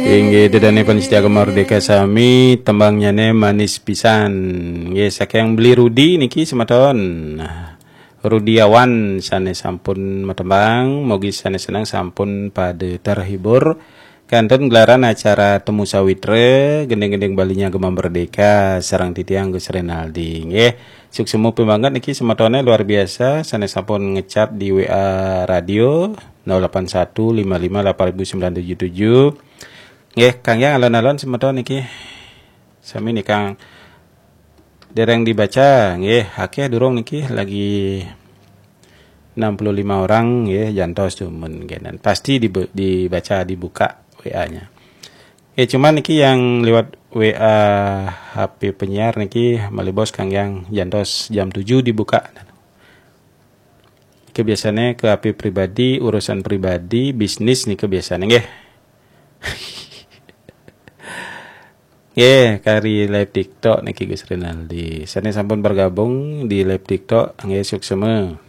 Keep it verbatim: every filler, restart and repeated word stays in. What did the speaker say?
Inggih, ida dané pamiarsa Gema Merdeka sami, tembangnyané manis pisan. Nggih, saking Beli Rudi niki semeton. Rudiawan sané sampun matembang, mugi sané seneng sampun pada terhibur. Kantun gelaran acara Temu Sawitra, gending-gending Balinya Gema Merdeka, sareng titiang Gus Renaldi. Nggih, suksma banget niki semetoné luar biasa, sané sampun ngechat di W A radio nol delapan satu lima lima delapan ribu sembilan tujuh tujuh. Nggih, Kang Yang alon-alon semeton niki. Sami nih Kang. Dereng dibaca, nggih, akeh durung niki lagi enam puluh lima orang nggih jantos tuh mun nggih. Dan pasti dibe- dibaca dibuka W A-nya. Nggih, cuman niki yang lewat W A H P penyiar niki malih bos Kang Yang jantos jam tujuh dibuka. Niki biasanya ke H P pribadi, urusan pribadi, bisnis niki biasanya nggih. Nggih, kari live TikTok niki Gus Rinaldi. Sané sampun bergabung di live TikTok, nggih suksma.